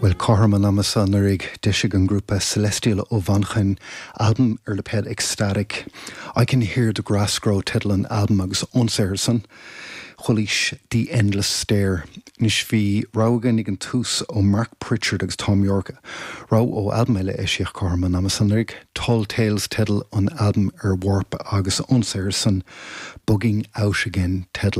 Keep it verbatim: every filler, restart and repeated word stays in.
Well cothrom an ama seo anuraidh d'eisigh an grúpa Celestial ó Mhanchain albam ar lipéad Ecstatic. I can hear the grass grow teideal an albaim agus ón saothar san. Chualaís The Endless Stair. Anois bhí rogha againn ag an tús ó Mark Pritchard agus Thom Yorke. Rogha ó albam eile a eisíodh cothrom an ama seo anuraidh, Tall Tales teideal an albaim ar Warp agus ón saothar san Bugging Out Again teideal